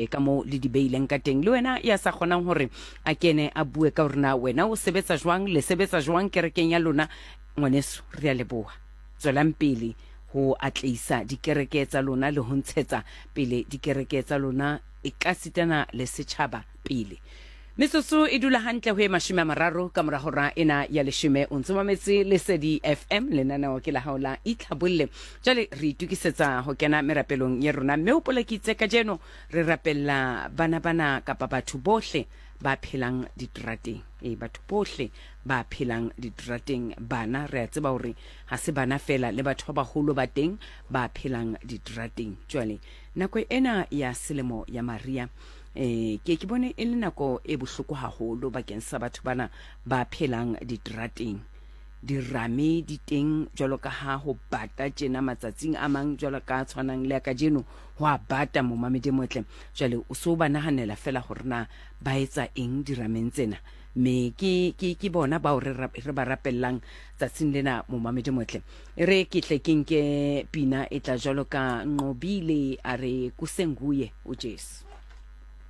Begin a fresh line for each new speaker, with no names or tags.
Ka moo le di beileng ka teng. Le wena ya sa kgonang hore a kene a bue ka hore na wena o sebetsa jwang, le sebetsa jwang kerekeng ya lona, ngwaneso, re a leboha. Tswelang pele ho atleisa dikereke tsa lona le ho ntshetsa pele dikereke tsa lona ekasitana le setjhaba pele. Metsotso e dula hantle ho e 30 ka mora hora ena ya leshome. O ntse mametse Lesedi FM, lenaneo ke la hao la Itlhabolle. Jwale re itokisetsa ho kena merapelong ya rona, mme hopola ke itse kajeno re rapella bana bana kapa batho bohle ba phelang diterateng. Ee, batho bohle ba phelang diterateng, bana re a tseba hore ha se bana fela, le batho ba baholo ba teng ba phelang diterateng. Jwale nako ena ya selemo ya Maria Eh, ke ke bone e le nako e bohloko haholo bakeng sa batho bana ba phelang diterateng. Dirame di teng jwalo ka ha ho bata tjena matsatsing a mang jwalo ka tshwanang le a kajeno ho a bata momamedi motle. Jwale o so ba nahanela fela hore na ba etsa eng dirameng tsena. Me ke ke ke bona bao re re ba rapellang tsatsing lena momamedi motle. E re ke tle ke nke pina e tla jwalo ka Nqobile a re kusenguye uJesu.